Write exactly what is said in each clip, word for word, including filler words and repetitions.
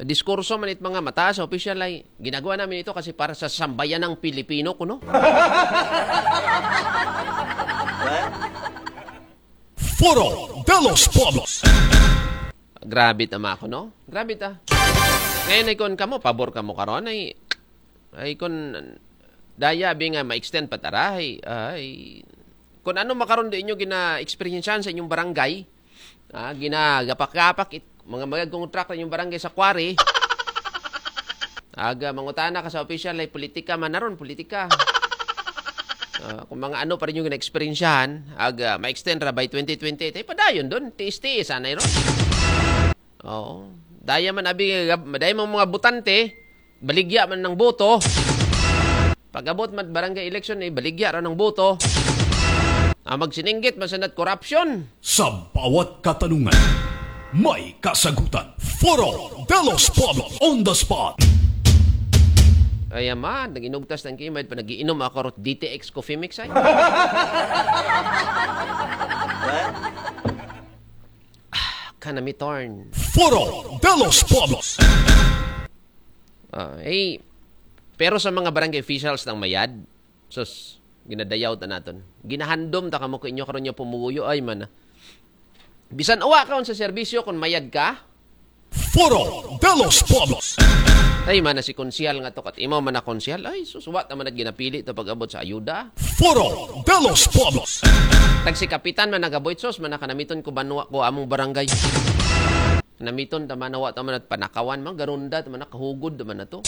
diskurso man it mga mataas a opisyal ay, ginagawa namin ito kasi para sa sambayanang Pilipino kuno. Foro de los Pueblos. Grabe ta, mga kuno. Grabe ta. Ngayon ay kon kamo, pabor kamo karon ay, ay kon daya abi nga ma-extend pa tara ay, ay kon ano makaron di inyo gina-experiencehan sa inyong barangay, ah, ginagapak-gapak it, mga magagkong truck na inyong barangay sa quarry. Aga, mangutana ka sa opisyal ay politika man naron, politika. Ah, kung mga ano pa rin yung na-experiencehan, aga, ma-extend ra by twenty twenty-eight. Ay, padayon doon. Tiis-tiis, anay ron. Oo. Daya man, abi, daya man mga botante, baligya man ng boto. Pag-abot man barangay election, eh, baligya ra ng boto. Ah, magsininggit, masanat korupsyon. Sa bawat katanungan, may kasagutan. Foro de los Pueblos on the spot. Ay, ama, nag-inugtas ng kimay, pa nag-iinom ako rot D T X Coffee Mix, ay. Ah, kanami torn. Foro de los Pueblos. Ah, eh, pero sa mga barangay officials ng mayad, sus, ginadayaw ta naton. Ginahandom ta kamo ko inyo karon nga pumuguyo, ay man. Bisan awa ka sa serbisyo kung mayad ka. Foro de los Pueblos. Ay man na si konsehal nga to, kat imo man na konsehal. Ay, sus, wa ta man at ginapili to pag-abot sa ayuda. Foro de los Pueblos. Tag si kapitan man nagaboy, sus, man na kanamiton ko banwa ko among barangay. Namiton ta man, wa ta man at panakawan, man, garunda ta man, nakahugod ta man na to.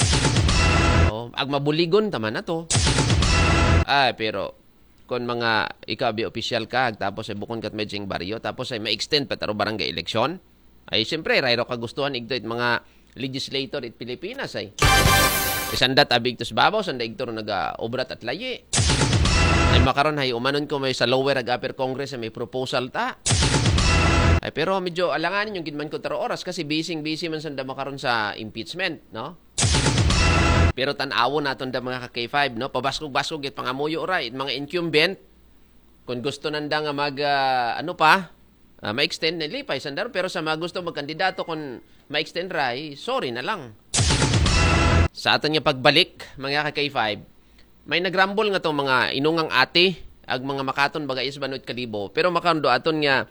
Oh, ag mabuligon ta man na to. Ay, pero kung mga ikaw abi opisyal ka, tapos ay bukon kat medjing baryo, tapos ay ma-extend pa taro barangay eleksyon, ay siyempre, rayro kagustuhan igto it mga legislator it Pilipinas ay. Isandat abi igto sa babaw, sanda igto ro naga-obra at layi. Ay makaron ay umanon ko may sa lower ag upper Congress ay may proposal ta. Ay, pero medyo alanganin yung gidman ko taro oras kasi busy-busy man sanda makaron sa impeachment, no? Pero tan-awon naton da mga ka-K five, no? Pabaskog-baskog it pangamuyo ra, it mga incumbent, kung gusto nanda nga mag, ah, ano pa, ah, ma-extend, nalipay sanda ron. Pero sa mga gusto magkandidato, kung ma-extend ra, eh, sorry na lang. Sa aton nga pagbalik, mga ka-K five, may nagrambol nga tong mga inungang ate, ag mga makaton baga is banwit kalibo. Pero makando aton nga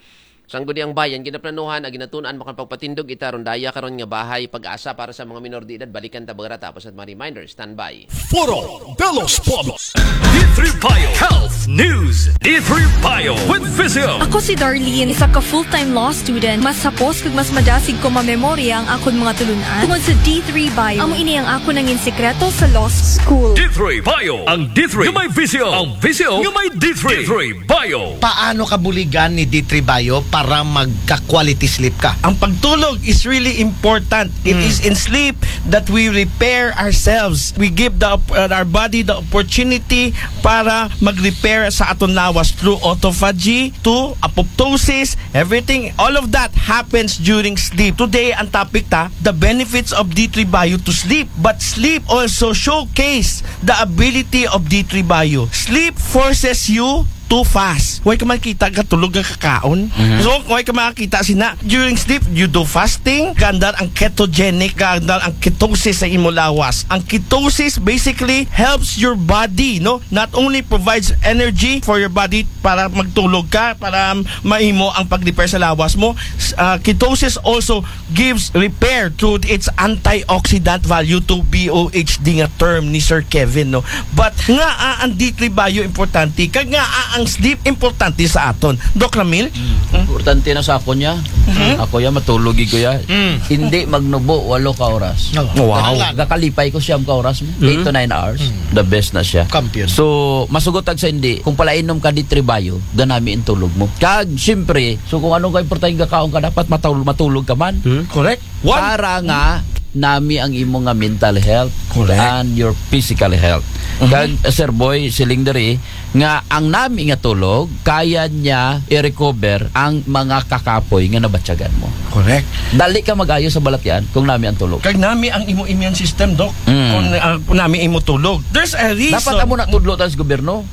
Sangguniang Bayan, ginaplanuhan ag ginatun-an makapagpatindog ita ron daya karon nga bahay pag-asa para sa mga minor de edad. Balikan ta baga ra tapos at mga reminder. Standby. Foro de los Pueblos. D three Bio Health News. D three Bio with Visio. Ako si Darlene, isa ka full-time law student. Mas hapos kag mas madasig ko mamemorya ang akon mga tulunan tungod sa D three Bio. Amo ini ang akon nangin sikreto sa law school. D three Bio. Ang D three nga may Visio. Ang Visio nga may D three. D three Bio. Paano ka buligan ni D three Bio para magka-quality sleep ka? Ang pagtulog is really important. It Mm. is in sleep that we repair ourselves. We give the op-, uh, our body the opportunity para mag-repair sa aton lawas through autophagy, to apoptosis, everything. All of that happens during sleep. Today, ang topic ta, the benefits of D three Bio to sleep. But sleep also showcase the ability of D three Bio. Sleep forces you too fast. Way ka makita katulog nga kakaon. Mhm. So, way ka makita sina. During sleep, you do fasting, gandar ang ketogenic, gandar ang ketosis sa imo lawas. Ang ketosis basically helps your body, no? Not only provides energy for your body para magtulog ka, para maimo ang pag-repair sa lawas mo. S-, ah, ketosis also gives repair through its antioxidant value to B O H D nga term ni Sir Kevin, no? But nga, ah, ang D three Bio importante, kag nga, ah, ang sleep importante sa aton. Doc Ramil? Mm. Hmm? Importante na sa ako niya. Mhm. Ako ya, matulog ko ya. Mm. Hindi magnubo, walo ka oras. Oh. Wow. Gakalipay ko siyam ka oras mo. Mm. Eight to nine hours. Mm. The best na siya. Champion. So, masugot ag sa hindi, kung palainom ka D three Bio, ganami ang tulog mo. Kag, siyempre, so kung ano ka importante gakaon ka, dapat matul-, matulog ka man. Hmm, correct. One. Para nga nami ang imo nga mental health Correct. and your physical health. Mhm. Kag, Sir Boy, siling diri, nga ang nami nga tulog, kaya niya i-recover ang mga kakapoy nga nabatyagan mo. Correct. Dali ka mag-ayo sa balatian kung nami ang tulog. Kag nami ang imo immune system, Doc. Mm. Kung, ah, kung nami imo tulog. There's a reason. Dapat amo na tudlo tayo sa gobyerno.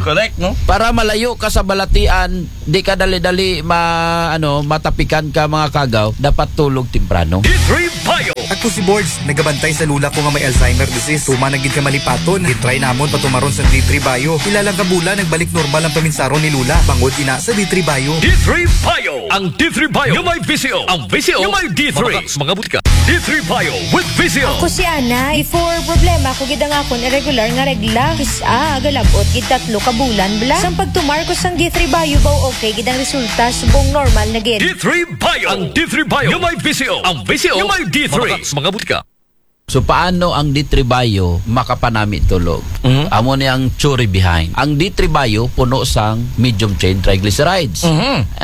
Correct, no? Para malayo ka sa balatian, di ka dali-dali ma-, ano, matapikan ka mga kagaw, dapat tulog temprano. D three Bio. Ako Si Borge, nagabantay sa lula ko nga may Alzheimer disease. Tuma na gid ka malipaton. Gitry namon patumaron sa D three Bio. Pila lang ka bulan, nagbalik normal ang paminsaron ni lula. Bangod ina sa D three Bio. D three Bio. Ang D three Bio nga may V C O. Ang V C O nga may D three. Mabaka sa mga butika. D three Bio with V C O. Ako si Ana. Before, problema ko gid ang akon irregular nga regla. Kis-a, galabot gid tatlo ka bulan bala. Sang pagtumar ko sang D three Bio baw okay gid ang resulta, subong normal na gid. D three Bio. Ang D three Bio nga may V C O. Ang V C O nga may D three. Mabaka sa mga butika. So paano ang D three Bio makapanami tulog? Amo ni ang theory behind. Ang D three Bio puno sang medium chain triglycerides.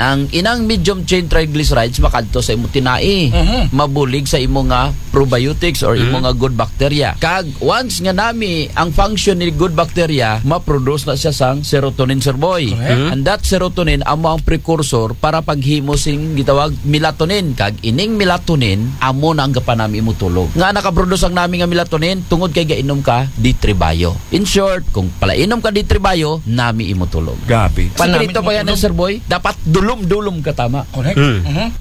Ang inang medium chain triglycerides makadto sa imo tinai. Mabulig sa imo nga probiotics or imo nga good bacteria. Kag once nga nami ang function ni good bacteria, ma-produce na siya sang serotonin, Sir Boy. And that serotonin amo ang precursor para paghimo sing gitawag melatonin. Kag ining melatonin amo na ang gapanami imo tulog. Nga nakaproduce ang nami nga melatonin tungod kay gainom ka D three Bio. In short, kung palainom ka D three Bio, nami imo tulog. Grabe. Sikreto pa yan, Sir Boy. Dapat dulom-dulom ka tama. Correct.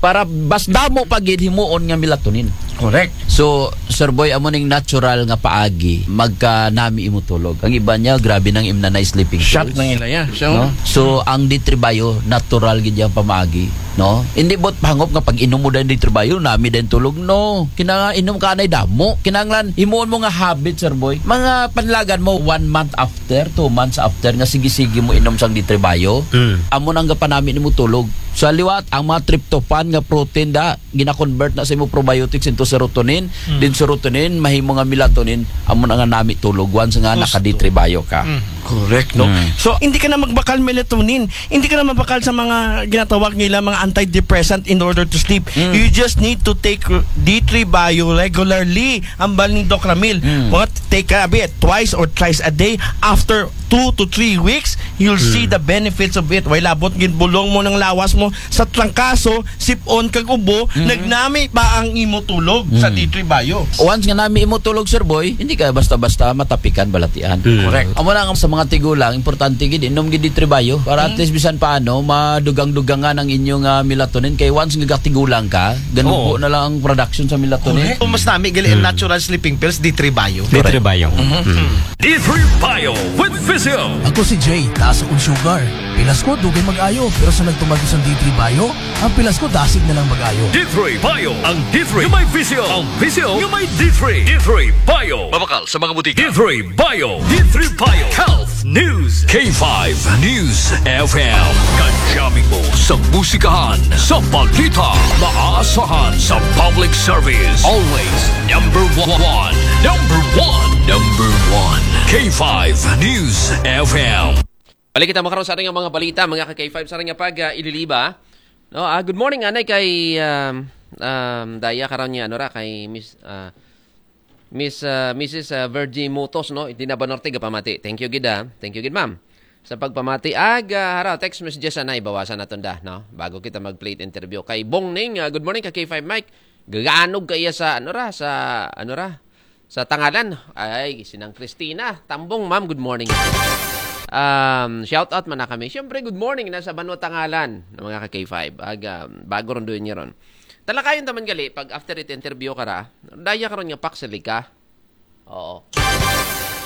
Para mas damo pa gid himuon nga melatonin. Correct. So, Sir Boy, amo ning natural nga paagi magkanami imo tulog. Ang iba niya, grabe nang imnanay sleeping Shot pills. Nang ilaya. So, No? So, ang D three Bio, natural gid yang pamaagi. No? Hindi bot pangop nga pag inom mo din D three Bio, nami din tulog. No. Kinanga inom ka anay damo. Kinanglan, himuon mo nga habit, Sir Boy. Mga panlagan mo, one month after, two months after, nga sige-sige mo inom sang D three Bio. Amo nang gapanami nimo tulog. Sa liwat, ang mga tryptophan nga protein da, gina-convert na sa imo probiotics into serotonin. Din serotonin, mahimo nga melatonin, amo na nga nami tulog once nga naka D three Bio ka. Correct, no? So, hindi ka na magbakal melatonin. Hindi ka na magbakal sa mga ginatawag nila mga antidepressant in order to sleep. You just need to take D three Bio regularly. Ang bal ni Doc Ramil, mga take a bit, twice or thrice a day. After two to three weeks, you'll see the benefits of it. Way labot, ginbulong mo ng lawas mo sa trangkaso, sipon kag ubo, nagnami pa ang imo tulog sa D three Bio. Once nga nami imo tulog, Sir Boy, hindi ka basta-basta matapikan balatian. Correct. Amo lang sa mga tigulang, importante gid inom gid D three Bio para at least bisan paano madugang-dugangan ang inyong ah, melatonin kay once nga gatigulang ka, ganubo na lang ang production sa melatonin. Kung mas nami gali ang natural sleeping pills, D three Bio. D three Bio. D three Bio with V C O. Ako si Jay, taas akong sugar. Pilas ko, dugay mag-ayo, pero sa nagtumar ko sa D three Bio, ang pilas ko dasig na lang mag-ayo. D three Bio. Ang D three nga may V C O. Ang V C O nga may D three. D three Bio. Mabakal sa mga butika. D three Bio. D three Bio. Health News. K five News F M. Kajami mo sa musikahan, sa balita, maasahan sa public service. Always number one. Number one. Number one. K five News F M. Balik kita makaroon sa ating mga balita, mga ka-K five, sa ating pag uh, ililiba. No, ah, good morning anay kay um, um, Daya karon niya ano ra kay Miss ah, Miss ah, Missus ah, Virgie Mutos, no. Hindi na ba norte pamati. Thank you gid ah. Thank you gid, ma'am. Sa pagpamati ag ah, hara text messages anay bawasan naton da, no. Bago kita mag-play interview kay Bong Ning, ah, good morning ka K five Mike. Gaganog kaya sa ano ra sa ano ra sa Tangalan. Ay, sinang Christina Tambong, ma'am, good morning. Um, shout out man na kami. Siyempre, good morning na sa Banwa Tangalan ng mga ka-K five. Ag, um, bago ron doon niya ron. Talakayan taman gali, pag after it interview ka ra, daya ka ron nga paksali ka. Oo.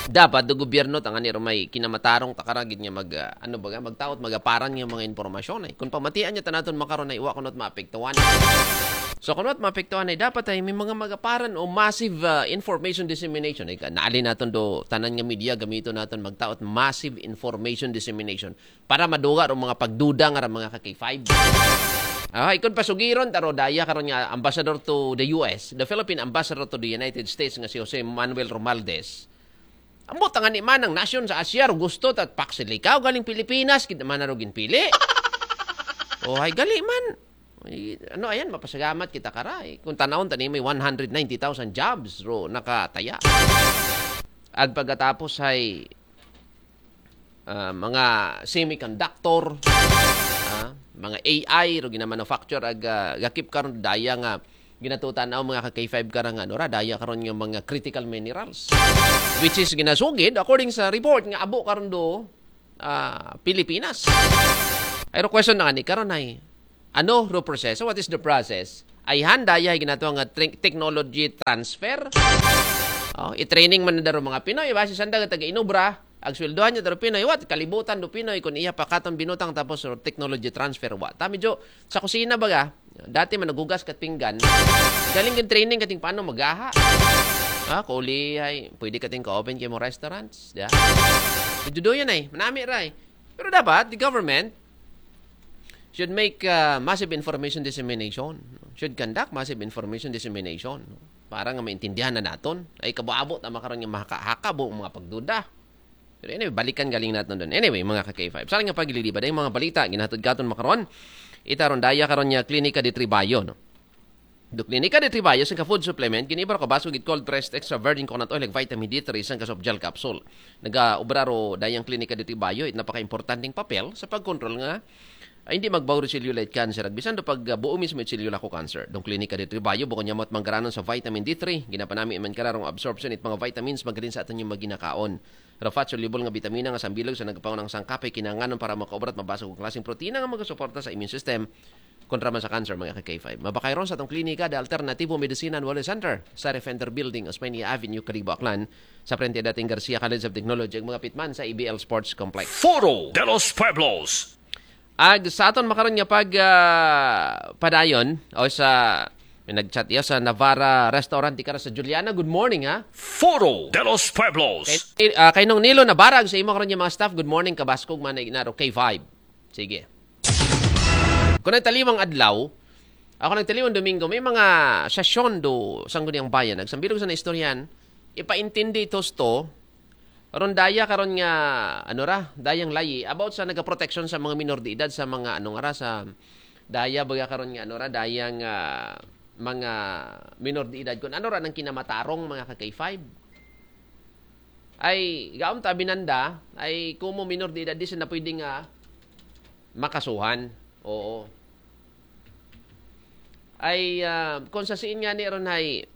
Dapat do gobyerno tanga ni may kinamatarong takaragid nga mag ah, ano ba nga magtaot magaparan nga mga impormasyon ay kung pamatian niya tanaton makaron ay wa kuno maapektuhan. So kuno maapektuhan ay dapat ay may mga magaparan o massive ah, information dissemination ay naali naton do tanan nga media gamito naton magtaot massive information dissemination para maduga ro mga pagduda nga ra mga ka K five. Ah, ikon pasugiron taro daya karon nga ambassador to the U S, the Philippine ambassador to the United States nga si Jose Manuel Romualdez. Ambot nga ni manang nasyon sa Asia ro gusto tat paksilikaw galing Pilipinas kita man ro ginpili. Oh, ay gali man. Ay, ano ayan mapasalamat kita karay. Kung tanawon tani may one hundred ninety thousand jobs ro nakataya. Ag pagkatapos ay ah, mga semiconductor, ah, mga A I ro ginamanufacture ag ah, gakip karon daya nga ginatutan-aw mga ka K five karang ano ra daya karon nga mga critical minerals which is ginasugid according sa report nga abo karon do ah, Pilipinas. Ay ro question na nga ni karon ay ano ro proseso? What is the process? Ayhan, daya hay ginatawag nga tra-, technology transfer. Oh, i-training man daw mga Pinoy, basi sanda nga taga-inubra, ag sweldohan niya daw Pinoy, what? Kalibutan do Pinoy, kun iya pa katon binutang tapos technology transfer, wa. Ta medyo sa kusina baga, dati man naghugas kat pinggan, galing yung training kating paano magaha. Ah, kuli ay, pwede kating ka-open kay mo restaurants, di ba? Medyo do yan ay, manami ray. Pero dapat, the government, should make uh, massive information dissemination, should conduct massive information dissemination, para nga maintindihan na naton. Ay, kabo-abo ta makaron nga mahaka-haka bo mga pagduda. Pero anyway, balikan galing naton doon. Anyway, mga ka-K five. Sa nga paglilibad, ay mga balita, ginahatod katon makaron, ita ron daya karon nga klinika de Tribayo, no? Do klinika de Tribayo, sa ka-food supplement, ginibar ko baso gid cold pressed extra virgin coconut oil, like vitamin D three, sa ka soft gel capsule. Nagaobra ro dayang klinika de Tribayo, it napaka-importanteng papel sa pagkontrol nga ay, hindi magbago ro cellulite cancer. Ag bisan do pag uh, buo mismo it cellula ko cancer. Dong klinika de Tribayo, bukod niya mo't manggaranon sa vitamin D three, ginapanami man kararong absorption it mga vitamins, magaling sa aton yung maginakaon. Rafat soluble nga bitamina nga sambilog sa nagpaunang sangkapay kinanganon para makaobra at mabasag og klaseng protina nga magasuporta sa immune system kontra man sa cancer, mga ka-K five. Mabakay ron sa atong klinika, The Alternativo Medicine and Wellness Center, sa Refender Building, Osmeña Avenue, Kalibo, Aklan, sa frente dating Garcia College of Technology, ag mga pitman sa A B L Sports Complex. Foro de los Pueblos. Ag sa aton makaron nga pag ah, padayon o sa may nag-chat iya sa Navara Restaurant di kara sa Juliana. Good morning, ha? Foro de los Pueblos. Kay, ah, kay Nong Nilo Navara ag sa imo karon nga mga staff. Good morning, kabaskog man na inaro K five. Sige. Kung nagtaliwang adlaw, ako nagtaliwang Domingo, may mga sesyon do Sangguniang Bayan. Nagsambilog sa naistoryahan, ipaintindi ito sto, ron daya karon nga, ano ra, dayang layi, about sa nagaproteksyon sa mga minor de edad, sa mga, ano nga ra, sa daya baga karon nga, ano ra, dayang ah, mga minor de edad. Kung ano ra nang kinamatarong mga ka-K five. Ay, gaon ta binanda, ay kumo minor de edad, di sila pwede nga makasuhan. Oo. Ay, ah, kung sa siin nga ni ron ay,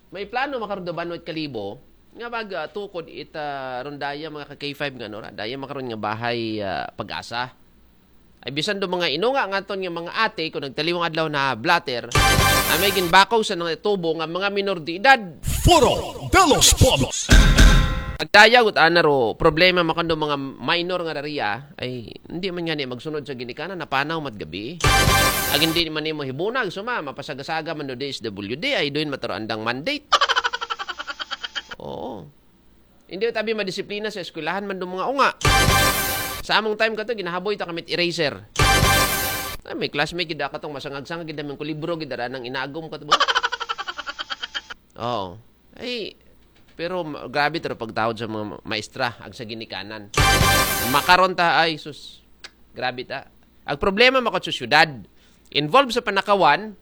may plano makaron do Banwat Kalibo, nga mag ah, tukod it ah, ron daya mga ka-K five nga, no, ra, daya makaron nga bahay ah, pag-asa. Ay bisan do mga inunga nga aton nga mga ate, kung nagtaliwang adlaw na blatter, ay may ginbakaw sa nang tubo nga mga minor de edad. Foro de los Pueblos. Agdaya, gut ana ro, problema makando mga minor nga rariya, ay hindi man nga ni magsunod sa ginikanan, napanaw mat gabi. Ag hindi man ni mo hibunag, suma, mapasagasaga man do D S W D, ay doon mataro andang mandate. Oo. Hindi tabi madisiplina sa eskwelahan man do mga unga. Sa among time kato, ginahaboy ta kamit eraser. Ay, may classmate gid katong masangag-sangag gid namin ko libro gid ara nang inagom kato ba? Oo. Ay, pero ma- grabe taro pagtawad sa mga ma- maestra ag sa ginikanan. Makaron ta ay sus. Grabe ta. Ang problema makot sa syudad. Involved sa panakawan,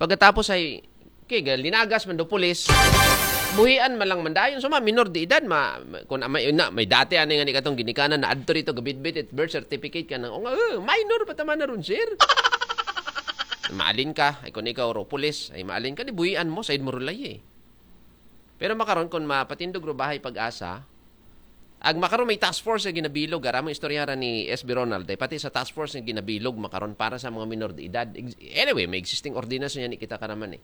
pagkatapos ay, okay, ga- linagas man do pulis. Buhian man lang mandayon. So, ma, minor de edad, ma, ma- kung may, na, may dati ano nga ni katong ginikanan na adto rito, gabitbit, it birth certificate ka nang, oh, nga, eh, minor pa tama na ron, sir. Maalin ka, ay kung ikaw ro, pulis, ay maalin ka, di buhian mo, said mo rulay eh. Pero makaron, kung mapatindog ro bahay pag-asa, ag makaron may task force nga ginabilog, ara mo istorya ra ni S B Ronald, eh, pati sa task force nga ginabilog makaron para sa mga minor de edad. Ex- Anyway, may existing ordinance niya ni kita ka naman eh.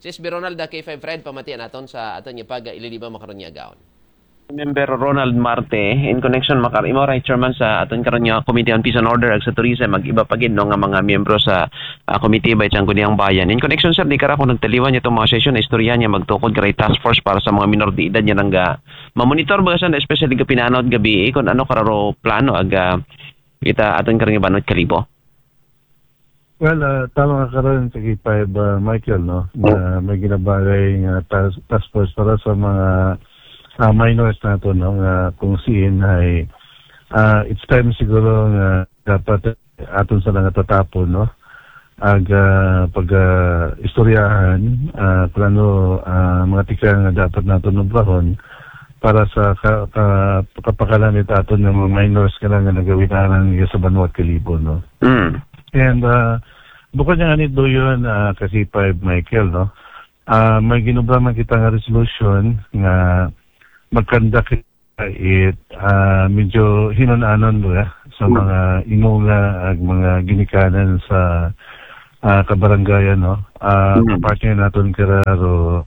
Si S B Ronald, ah, K five Fred, pamatian aton sa aton niya pag ililiba makaron niya gaon. Member Ronald Marte, in connection makar imo ray chairman sa aton karon nga Committee on Peace and Order ag sa Tourism, ag iba pa gid, no, nga mga miyembro sa ah, committee ba itong Guniang Bayan. In connection, sir, di kara kung nagtaliwan niya itong mga session na istorya niya magtukod karay task force para sa mga minor de edad niya nang ga mamonitor ba sa especially ga pinanaw at gabi eh, kung ano kararo plano aga kita aton karang ibanot kalibo. Well, ah, tama ka karon sa K five, ah, Michael, no? Na may ginabagay nga task, task force para sa mga ah, minors nato, no? Nga kung siin ay ah, it's time siguro nga dapat aton sa nga tatapon, no? Ag ah, pag ah, istoryahan, ah, plano, ah, mga tikang nga dapat nato nubrahon para sa ka, ka, kapakanan it aton nga mga minors nga nga nagawinaran nga sa banwa at kalibo, no? Mm. And uh, bukod nga nito yun, uh, kasi five Michael, no? Uh, may ginubra man kita nga resolution nga magkandak it uh, medyo hinunanon ba sa mga imunga ag mga ginikanan sa ah, kabarangayan, no? Ah, Mm. partner naton kara ro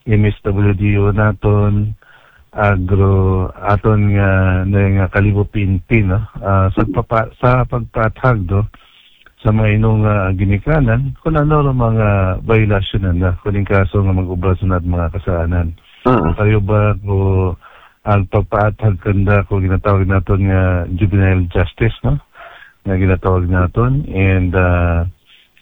M S W D O naton, agro aton nga, na nga Kalibo P N P, no? Ah, sa papa-, sa pagpaathag do sa mga inunga nga ginikanan, kun ano ro mga biolasyon nanda, kun in kaso nga mag-obra sa nat mga kasaanan. Ah. Kayo ba ko ang pagpaathag kanda ko ginatawag naton nga juvenile justice, no? Nga ginatawag naton. And, ah,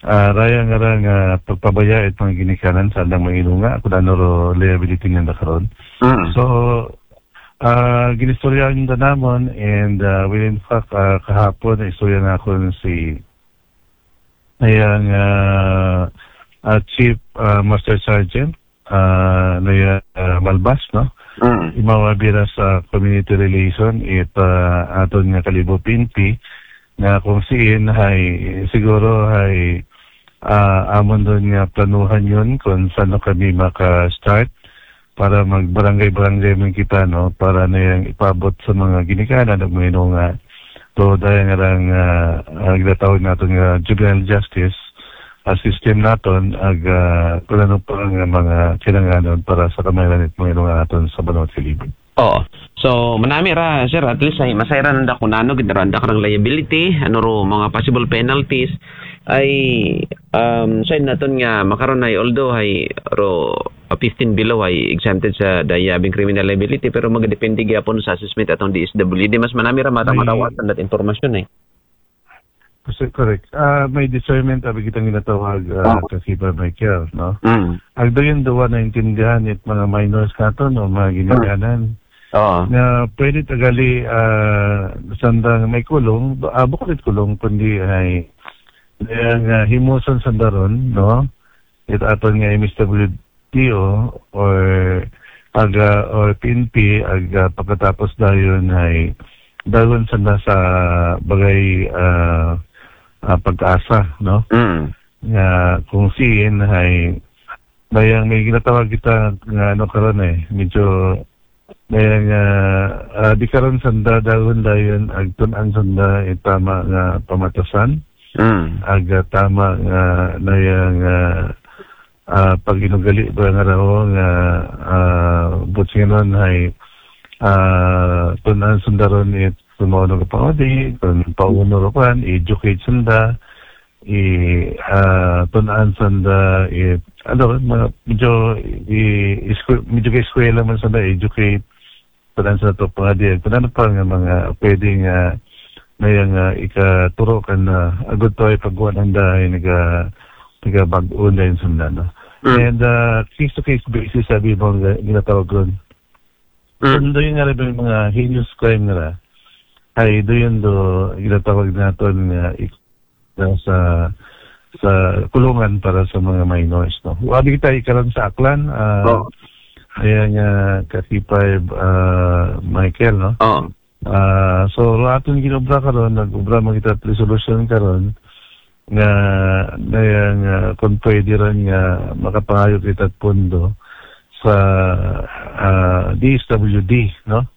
ah, raya nga ra nga pagpabaya it mga ginikanan sa andang mga inunga, kun ano ro liability nanda karon. Ah. So, ah, ginistoryahan da namon, and, ah, well, in fact, ah, kahapon, istorya na ako si, ayan, ah, ah, Chief, ah, Master Sergeant, ah, na ya, ah, Malbas, no? Mm. Imawa bira sa community relation, it, ah, aton nga Kalibo P N P, nga kung siin hay, siguro hay, ah, amon doon nga planuhan yun kung saan kami maka-start para mag-barangay-barangay man kita, no? Para na yung ipabot sa mga ginikanan at mga inunga. So, dahil nga lang, ah, ang ginatawag natin nga juvenile justice, ah, system naton, ag, ah, kung ano pa nga mga kinanganon para sa kamairan at mga inunga naton sa Banwa Kalibo. Oo. So, manami ra, sir, at least ay masayran nanda kun ano, gid ra nanda karang liability, ano ro, mga possible penalties, ay, um, side naton nga makaron ay, although ay ro, uh, fifteen below ay exempted sa dayabing criminal liability, pero magadepende gyapon sa assessment atong D S W D. Mas manami ra mata May marawasan dat impormasyon eh. Kasi correct. Ah, may discernment abi kitang ginatawag, ah, Oo. Kasi pa Michael, no? Mm. Agdo yun dawa naintindihan it mga minors nato, no, mga ginikanan. Oo. Nga pwede tagali, ah, sandang may kulong, ah, bukod it kulong, kundi ay, nga, ah, himuson sandaron, no? It aton nga M S W D O or aga or P N P, aga pagkatapos dayon ay dayon sanda sa bagay, ah, ah, pag-asa, no? Mm. Nga kung siin ay bayang may ginatawag kita nga ano karon eh, medyo bayang, ah, ah, di karon sanda dayon dayon agtun-an sanda itama nga pamatasan. Mm. Aga tama nga na yang, ah, ah, pag-inugali ba nga raw nga, ah, butsinganon hay, ah, tun-an sandaron it kung mao nga pangudi, kung pauno ro kan, educate sanda, i, ah, tun-an sanda, i, ano, mga, medyo, i, iskwe-, medyo kay eskwela man sanda, educate, tun-an sa to pangadi, kung ano pa nga mga pwede nga, na yung, ah, ikaturo kan na, agud to ay pagkuha ng dahay, naga, naga bag-on dahil sanda, no? Mm. And, ah, case-to-case basis, sabi mo, nga ginatawag ron. Mm. Kung doon nga rin yung mga heinous crime nga ra, ay doon do ginatawag naton nga ik-, na sa, sa kulungan para sa mga minors, no? Wabi kita ikaron sa Aklan, ah, Oo. Ayan nga, Kasipay, ah, Michael, no? Oo. Ah, so, aton ginobra karon, nag-obra man kita resolution karon, nga, na yan, nga, kung pwede rin nga, makapangayo kita pondo sa, ah, D S W D, no?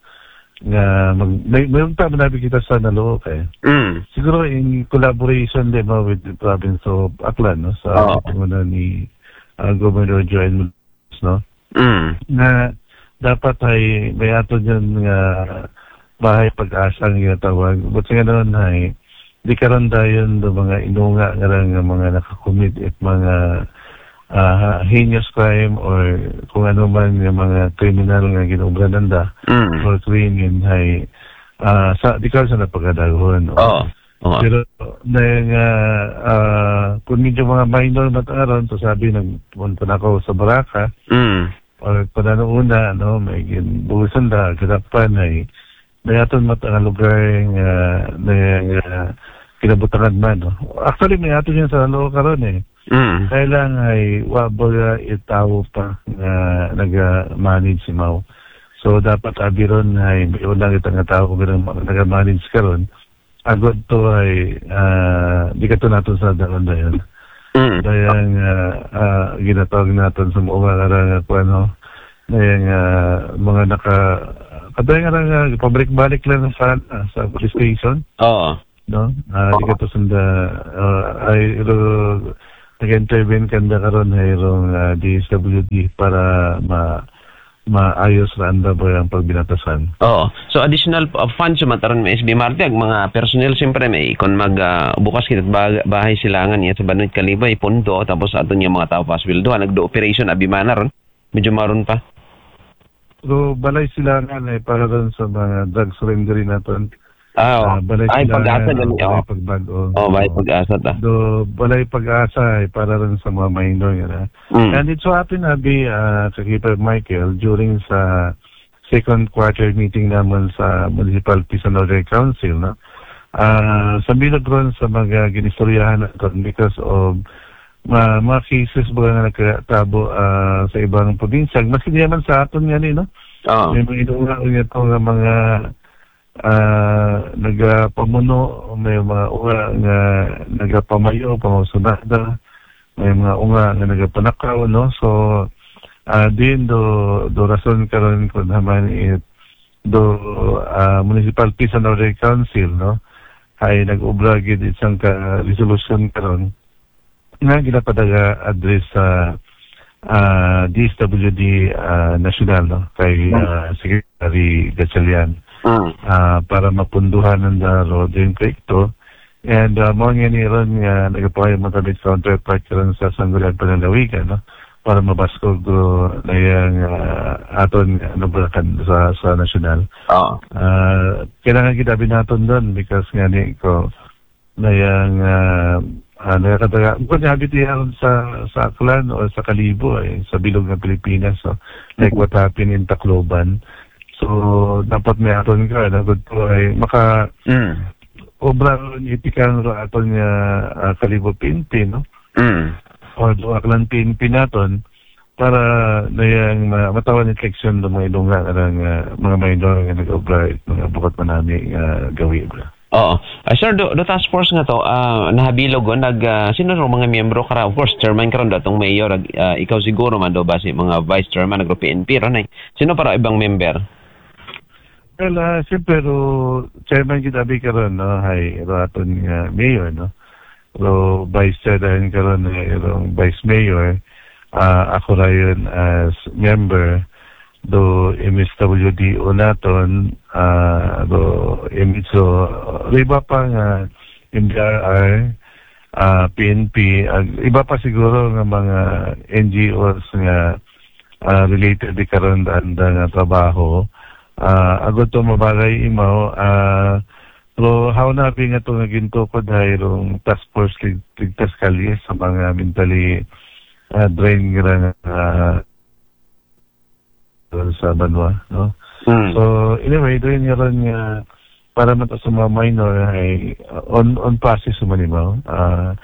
Nga, mag-, may, may unta man abi kita sa Nalooc, eh. Mm. Siguro in collaboration din mo with the province of Aklan, no? Sa Oo. panguna ni, ah, Governor Joel, no? Mm. Nga dapat ay may ato dyan nga bahay pag-asa nga ginatawag. But sa ganoon ay, di karon dayon do mga inunga nga ra nga mga nakakumit it mga, ah, heinous crime or kung ano man nga mga kriminal nga ginobra nanda Mm. or krimen ay, ah, sa, di karon sa napagadaghon, no? Oo. Oo. Pero na nga, ah, kung medyo mga minor man ta karon, so sabi, nagpunta na ako sa Baraka, Mm. or kung ano una, no, may gin-, buhusan na, ginapan ay, may aton man ta nga lugar nga, na, nga kinabutangan man, no? Actually, may aton yan sa Nalooc karon eh. Mm. Kaya lang ay, wa ba nga itawo pa nga naga-manage si Mao. So, dapat abi ron ay, may ulang itang nga tao kung naga-manage karon. Agud to ay, ah, di ka to naton sa daron dayon. Mm. Dayang, ah, ah, ginatawag naton sa mga nga, nga, kung ano, dayang, ah, mga naka-, kadayang nga, nga, pabalik-balik lang sa, ah, sa police station, Oo. no? Ah, di ka to sanda, ah, ay, ro-, nag-intervene kanda karon ha irong, ah, D S W D para ma-, maayos ra anda ba ang pagbinatasan. Oo. So, additional, uh, funds man taron may S B Marte, ang mga personnel, siyempre, may, kung mag, ah, bukas kita ba-, bahay silangan niya sa Banwit Kalibay, punto, tapos aton yung mga tao pa sweldo, nagdo-operation, abi man na ron, medyo maron pa. So, balay silangan ay para ron sa mga drug surrendering naton. Ah, oh. Ah, balay Ay, silangan, pag-asa, oh, gani, balay oh. Pagbag-o. Oh, balay Oo. Pag-asa ta. Do, balay pag-asa ay para ron sa mga minor, yun, ah. Mm. And it so happen, abi, ah, Kakipad Michael, during sa second quarter meeting naman sa Municipal Peace and Order Council, no? Ah, sa bilog ron sa mga ginistoryahan naton because of ma-, mga cases ba nga nagkatabo, ah, sa ibang probinsya, maski di naman sa aton nga ni, no? Oo. May mga inuuna niya to nga mga, ah, nagapamuno, may mga uga nga nagapamayo, pamasunada, may mga uga nga nagapanakaw, no? So, ah, din do, do rason karon kung naman it, do, ah, Municipal Peace and Order Council, no? Ay nag-obra gid isang ka resolution karon nga ginapadaga address sa, ah, D S W D, ah, National, no? Kay, ah, Secretary Gatchalian. Mm. Ah, para mapunduhan ang daro din proyekto. And, ah, mo nga ni ron nga nagapahayag mo kami sa counterpart karon sa Sangguniang Panlalawigan, no? Para mabaskog do na yang, ah, aton, ano ba, kan-, sa, sa nasyonal. Oo. Ah, kailangan kita binaton doon because nga ni ko na yang, ah, ah, nakakataga. Bukod nga habit yan sa, sa Aklan o sa Kalibo, eh, sa bilog ng Pilipinas. So, like what happened in Tacloban. So, dapat may aton ka, dapat po ay maka- Mm. obra ron ipikan ro aton nga, ah, Kalibo P N P, no? Mm. O do Aklan P N P naton para na yang ma-, matawan ni section do mga ilunga nga, ah, mga minor nga nag-obra it mga bukod manami nga gawi, bro. Oo. Ah, sir, do, do task force nga to, ah, nahabilog ko, nag, ah, sino ro mga miyembro kara? Of course, chairman karon datong mayor, ag-, ah, ikaw siguro man do ba si mga vice chairman, nagro P N P ron, eh. Sino para ibang member? Well, ah, siyempre, ro chairman kita bi karon, no? Hay, ro aton nga mayor, no? Ro vice chair dayon karon, eh, ro vice mayor. Ah, ako dayon as member do M S W D O naton, ah, do M S O, ro iba pa nga M D R R, ah, P N P, ag iba pa siguro nga mga N G Os nga, ah, related di karon anda nga trabaho. Ah, agud to mabagay imaw, ah, pero how na bi nga to nga gintukod hay rong task force lig-, ligtas kalye sa mga mentally, ah, drained nga, ah, sa banwa, no? Mm. So, anyway, doon nga ron nga para man to sa mga minor ay, uh, on, on process man imaw. Ah,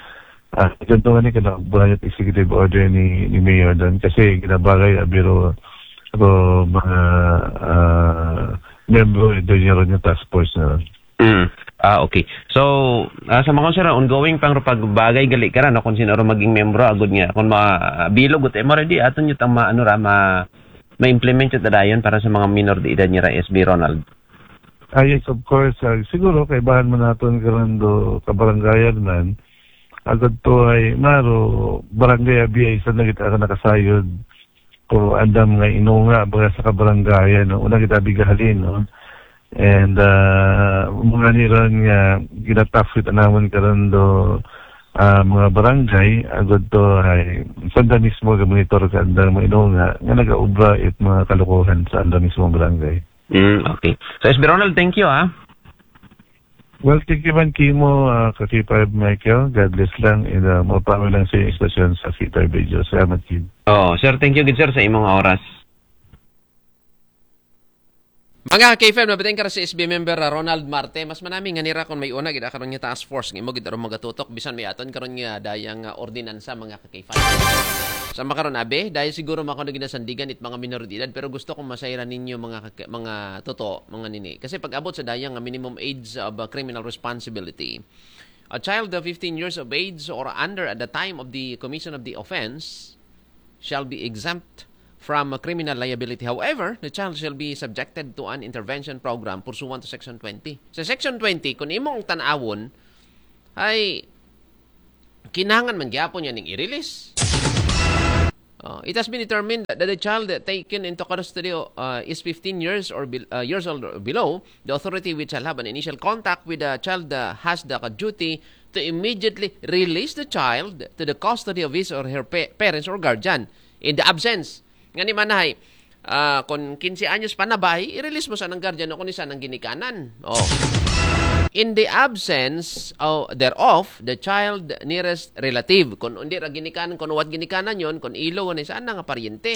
ah, ganito nga ni kana, buhay at executive order ni, ni Mayor doon kasi ginabagay, ah, biro, ro mga, ah, miyembro, eh, doon nga ron nga task force na ron. Mm. Ah, okay. So, ah, sa mga sir, ongoing pang ro pagbagay gali kara, no, kung sino ro maging miyembro, agud nga, kung ma-, bilog, ut, eh, mo ready, aton yung tama, ano ra, ma-, ma-implement yung tadayon para sa mga minor de edad niya ra, S B Ronald. Ah, yes, of course. Ah, siguro, kaibahan man naton karon do kabarangayan man, agud to ay maro, barangay abi ay isa na kita ka nakasayod. Pero andam nga inunga, baga sa kabarangayan, no? Una kita bigahalin, no? And, ah, mga niran nga ginatapit naman karon do, ah, mga barangay, agud to ay sanda mismo ga-monitor ka andang mga inunga nga nagaobra it mga kalukuhan sa anda mismo barangay. Mm, okay. So, S B Ronald, thank you, ah. Well, thank you man kimo, ah, ka K five Michael. God bless lang. And, ah, mapangin lang sa inyong istasyon sa K five Radio. Salamat, Kim. Oh, sir, thank you gid, sir, sa imong oras. Mga K five, nabating ka ra si S B member, ah, Ronald Marte. Mas manami nga nira kung may una gid karon nga task force nga imo gid aron magatutok bisan may aton karon nga dayang, ah, ordinansa, mga K five. Sa makaron, abi, dahil siguro makaon na ginasandigan it mga minor de edad, pero gusto kong masayran ninyo, mga kaka-, mga toto, mga nini. Kasi pag abot sa dayang, ah, minimum age of, ah, criminal responsibility, a child of fifteen years of age or under at the time of the commission of the offense shall be exempt from, ah, criminal liability. However, the child shall be subjected to an intervention program pursuant to Section twenty. Sa Section twenty, kung imong tanawon, ay kinahanglan man gyapon niya ning i-release. Uh, it has been determined that the child taken into custody uh, is fifteen years or be- uh, years old or below. The authority which shall have an initial contact with the child uh, has the duty to immediately release the child to the custody of his or her pa- parents or guardian in the absence. Nga ni manahay, uh, kung kinse anyos pa na ba, i-release mo sa nang guardian o kung isa nang ginikanan. Oh. In the absence of, thereof, the child nearest relative. Kung hindi ra ginikanan, kung what ginikanan yon, kung ilo, kung isa na nga paryente.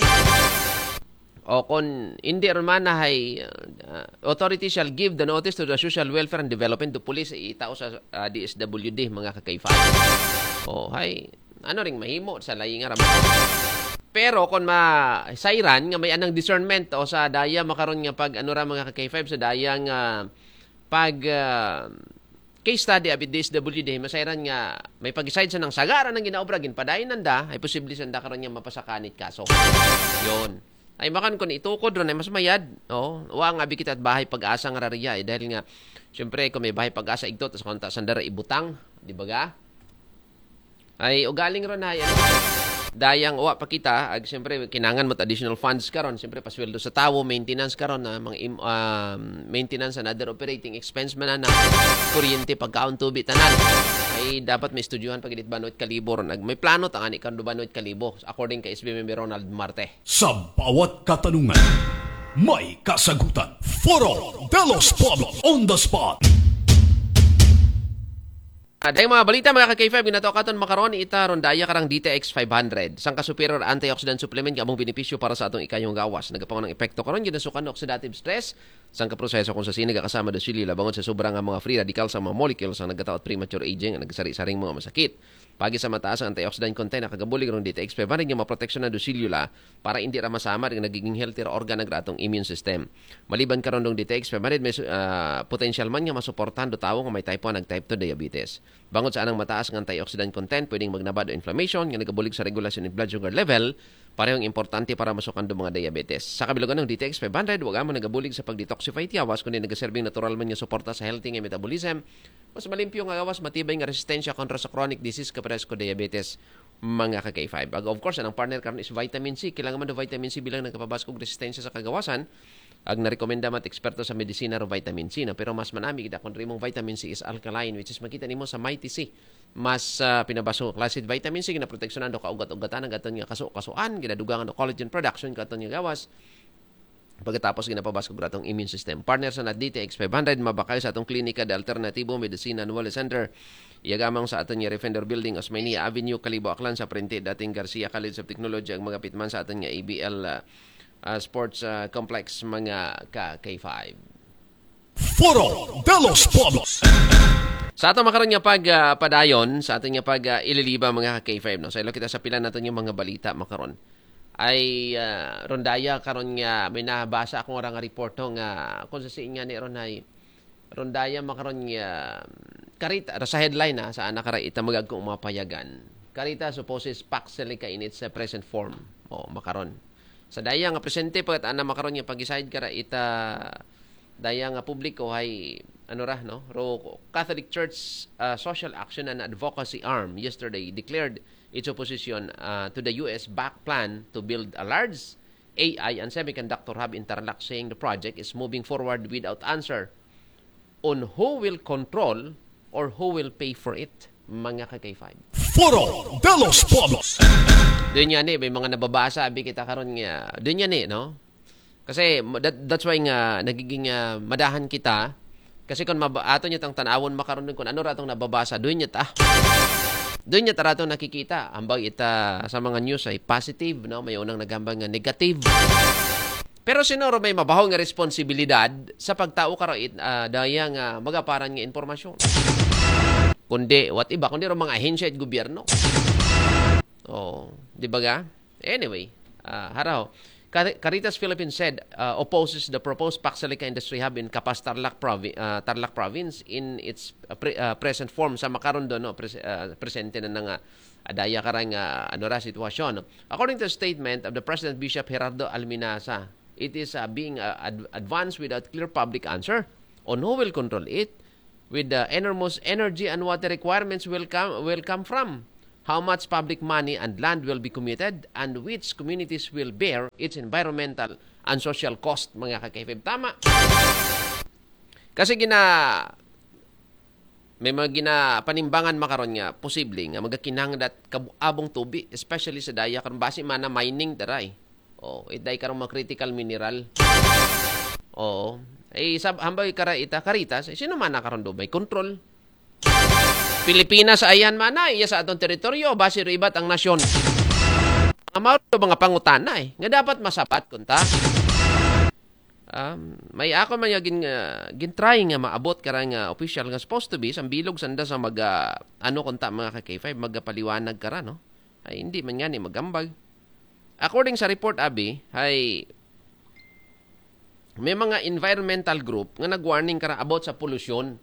O kung hindi rin man na hay, uh, authority shall give the notice to the Social Welfare and Development to police itao sa uh, D S W D, mga ka-K five. O, hay, ano ring mahimo sa layi nga raman. Pero kung masayran nga may anang discernment o sa daya makaron nga pag ano ra mga ka-K five sa daya nga pag uh, case study abi D S W D, masayran nga may pag-decide sa nang sagara ng ginaobra, ginpadayon nanda, ay posible sa nanda karon nga mapasakanit kaso. Yon. Ay makan kun itukod ron ay mas mayad. Oh, wa nga abi kita bahay pag-asa nga rariya eh, dahil nga syempre kung may bahay pag-asa igto tas konta sandara ibutang, di ba ga? Ay ugaling ron ay ano, dayang wa pa kita ag siyempre kinangan mo additional funds karon, siyempre pasweldo sa tawo, maintenance karon na mga im, um, maintenance and other operating expense man na kuryente, pagkaon, tubi tanan. Ay dapat may estudyohan pag init banwit kalibo ron ag may plano tangani kan banwit kalibo according kay S B member Ronald Marte. Sa bawat katanungan, may kasagutan. Foro de los Pueblos on the spot. Aday mga balita mga ka-K five, ginatawag katon makaron ita rondaya karang D T X five hundred. Sangka superior antioxidant supplement nga among benepisyo para sa atong ikayong gawas. Nagapangong epekto karon ginasukan ng oxidative stress. Sangka proseso kung sa sini kasama do silila bangon sa sobra nga mga free radical sa mga molecules ang nagkataot premature aging ang nagsaring-saring mga masakit. Pagi sa mataas ang antioxidant content nakagabulig rong D T X five hundred nga maproteksyon na do silula para hindi ra masama rin nagiging healthy ra organ ng atong immune system. Maliban karon dong D T X five hundred may uh, potential man nga masuportahan do tawo nga may type one ag type two diabetes. Bangod sa anang mataas nga antioxidant content, pwedeng magnabad o inflammation nga nagabulig sa regulasyon ng blood sugar level, parehong importante para masukan do mga diabetes. Sa kabilugan ng D T X five hundred, wag mo nagabulig sa pag-detoxify tiyawas kundi nagaserbing natural man nga suporta sa healthy nga metabolism, mas malimpyo nga gawas, matibay nga resistensya kontra sa chronic disease kapares ko diabetes, mga ka-K five. Ag of course, anang partner karon is vitamin C. Kailangan man do vitamin C bilang nagkapabaskog resistensya sa kagawasan. Ag narekomenda man eksperto sa medisina ro vitamin C na pero mas manami gid akong rimong vitamin C is alkaline which is makita nimo sa Mighty C. Mas uh, pinabaso klase vitamin C ginaproteksyonan do kaugat-ugatan ang aton nga kaso-kasuan, ginadugangan do collagen production katon nga gawas. Pagkatapos ginapabaskog atong immune system. Partner sa D T X five hundred, mabakal sa atong klinika de Alternativo Medicina Annual Center. Iyagamang sa aton nga Refender Building, Osmeña Avenue, Kalibo, Aklan, sa Prente, dating Garcia College of Technology, ang magapit man sa aton nga A B L uh, uh, Sports uh, Complex, mga ka-K five. Foro de los Pueblos. Sa ato makaron nga pag uh, padayon, sa aton nga pag uh, ililiba mga ka-K five, no? Sa ilo kita sa pila nato nga mga balita makaron. Ay uh, rondaya karon nga may nabasa akong orang nga report no, nga kung sa siin nga ni ron ay rondaya makaron nga karita sa headline na sa anak kara ita magag kung mapayagan. Karita supposes paksel ka in its uh, present form. O makaron. Sa daya nga presente pa ana makaron nga pag-decide kara ita daya nga publiko hay ano ra no ro Catholic Church uh, social action and advocacy arm yesterday declared its opposition uh, to the U S-backed plan to build a large A I and semiconductor hub in Tarlac, saying the project is moving forward without answer on who will control or who will pay for it, mga ka-K five. Foro de los Pueblos. Doon yan eh, may mga nababasa, abi kita karon nga. Doon yan eh, no? Kasi that, that's why nga nagiging uh, madahan kita kasi kung maba- ato niya tang tanawon makaron kung ano ratong nababasa, doon niya ta. Doon niya taratong nakikita. Ambag ita sa mga news ay positive, no? May unang nagambang nga negative. Pero sinuro may mabaho nga responsibilidad sa pagtao karo it uh, daya nga magaparan nga impormasyon. Kundi, what iba, kundi ro mga ahensya at gobyerno. Oh, di ba ga? Anyway, uh, haraw. Caritas Philippines said uh, opposes the proposed Paxalica Industry Hub in Capas Tarlac, provi- uh, Tarlac Province in its uh, pre- uh, present form sa makaron do no pres- uh, presente na nga adaya karang uh, ano ra sitwasyon. According to the statement of the President Bishop Gerardo Alminaza, it is uh, being uh, ad- advanced without clear public answer on who will control it with the enormous energy and water requirements will come will come from how much public money and land will be committed and which communities will bear its environmental and social cost, mga ka-K five. Tama. Kasi gina may mga ginapanimbangan makaron nga posible nga magakinahanglan kabu-abong tubi, especially sa daya karon basi mana mining taray. Oh, iday karong mga critical mineral. Oo. Eh, sab hambay kara ita Caritas, eh, sino man na karon do may control? Pilipinas ayan mana iya sa atong teritoryo, basi ro ibat ang nasyon. Ang mao to mga pangutana eh, nga dapat masabat kunta. Um, may ako man yung gin, uh, gintry nga maabot kara nga official nga supposed to be sa bilog sanda sa mag uh, ano kunta mga ka K five magapaliwanag kara no. Ay hindi man nga ni magambag. According sa report abi, ay may mga environmental group nga nag-warning kara about sa polusyon.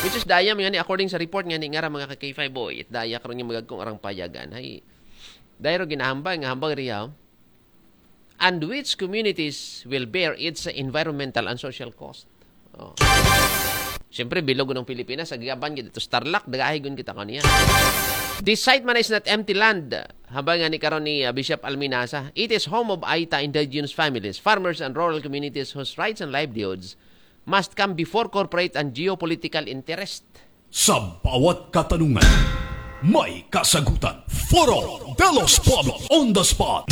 Which is daya man nga ni according sa report nga ni nga ra mga ka K five boy, it daya karon nga magagkong arang payagan. Ay dahil ro ginahambag nga hambag riya and which communities will bear its environmental and social cost. Oh. Siyempre, bilog ng Pilipinas, sa gaban kita to Starlock, dagahigon kita kaniya. This site man is not empty land. Habang nga ni karon ni uh, Bishop Alminasa, it is home of Aita indigenous families, farmers, and rural communities whose rights and livelihoods must come before corporate and geopolitical interest. Sa bawat katanungan, may kasagutan. Foro de los Pueblos on the spot.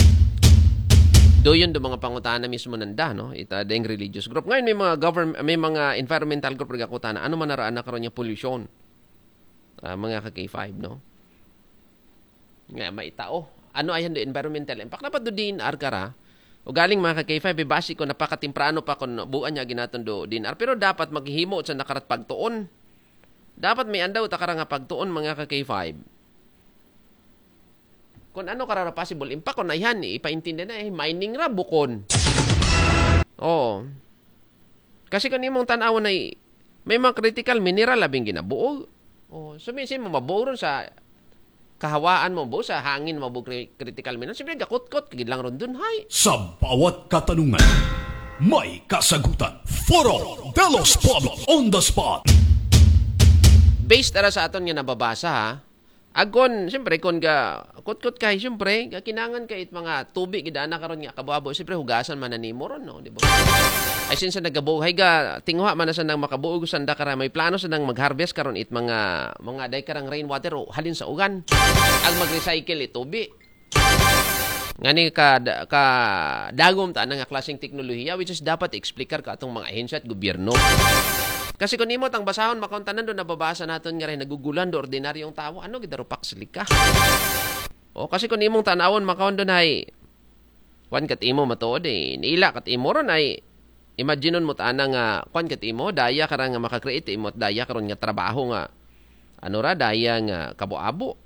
Do yun do mga pangutana mismo nanda, no? Ita ding religious group. Ngayon may mga government, may mga environmental group nagakutana. Ano man naraan na karon yung pollution? Ah, mga ka K five, no? Nga maitao. Ano ayan do environmental impact? Dapat do D N R kara. O galing mga ka K five, basi ko napakatimprano pa kung buan niya ginaton do D N R. Pero dapat maghimo sa nakarat pagtuon. Dapat may andaw takara nga pagtuon mga ka K five. Kung ano karara possible impact kung naihan ipaintindi na eh mining ra bukon. Oo. Kasi kung imong tan-awon ay may mga critical mineral labing ginabuo. Oh, so minsan mo mabuo ron sa kahawaan mo bo sa hangin mo bo critical mineral. Siyempre gakutkot kagid lang ron dun hay. Sa bawat katanungan, may kasagutan. Foro de los Pueblos on the spot. Based ara sa aton nga nababasa ha. Agon, siyempre kon ga kutkot kay siyempre ga kinangan kay it mga tubi gidana karon nga kabo-abo siyempre hugasan man nimo ron no, di ba? Ay since nagabuhay ga tinguha man sa nang makabuog sanda kara may plano sa nang mag-harvest karon it mga mga day karang rainwater o halin sa ugan. Ang mag-recycle it tubi. Ngani ka ka dagom ta nga klaseng teknolohiya which is dapat explicar ka atong mga ahensya at gobyerno. Kasi kung nimo tang basahon makauntanan do nababasa naton nga rin nagugulan do ordinaryong tawo ano gid darupak silika. O kasi kung nimong tanawon makaon do hay kwan kat imo matuod eh. Niila kat imo ron ay imaginon mo tana nga kwan kat imo daya ka ra nga makakreate imo at daya karon nga trabaho nga ano ra daya nga kabo-abo.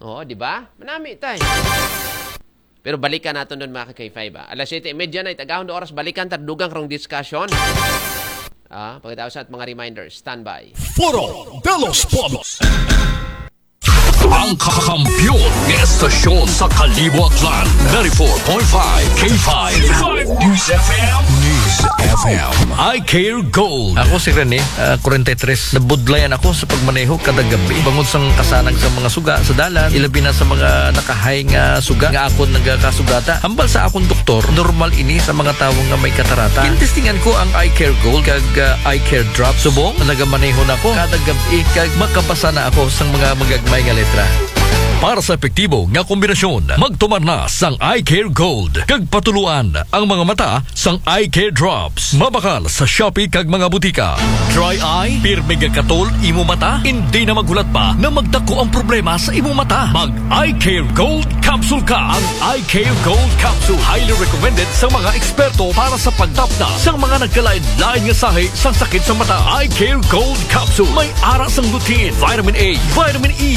Oo, di ba? Manami tay. Pero balikan naton doon mga ka-K five ah. Alas siyete y media na itagahon do oras balikan ta dugang karong discussion. Ah, pagkatapos at mga reminders, standby. Foro de los Pueblos. Ang kakampiyon ng estasyon sa Kalibo Aklan, ninety-four point five K five News F M. News F M. I Care Gold. Ako si Rene, ah, forty-three. Nabudlayan ako sa pagmaneho kada gabi. Bangod sang kasanag sa mga suga sa dalan, ilabi na sa mga nakahay nga suga nga akon nagakasugata. Hambal sa akong doktor, normal ini sa mga tawo nga may katarata. Gintestingan ko ang Eye Care Gold kag, ah, Eye Care Drop. Subong, nagamaneho na ko kada gabi kag makabasa na ako sang mga magagmay nga letra. Para sa epektibo nga kombinasyon, magtumar na sang Eye Care Gold kag patuluan ang mga mata sang Eye Care Drops. Mabakal sa Shopee kag mga butika. Dry eye, pirmi nga katol imo mata, hindi na maghulat pa na magdako ang problema sa imo mata. Mag Eye Care Gold Capsule ka. Ang Eye Care Gold Capsule highly recommended sa mga eksperto para sa pagtapna sa mga nagkalain-lain nga sahi sa sakit sa mata. Eye Care Gold Capsule may ara sang lutein, vitamin A, vitamin E,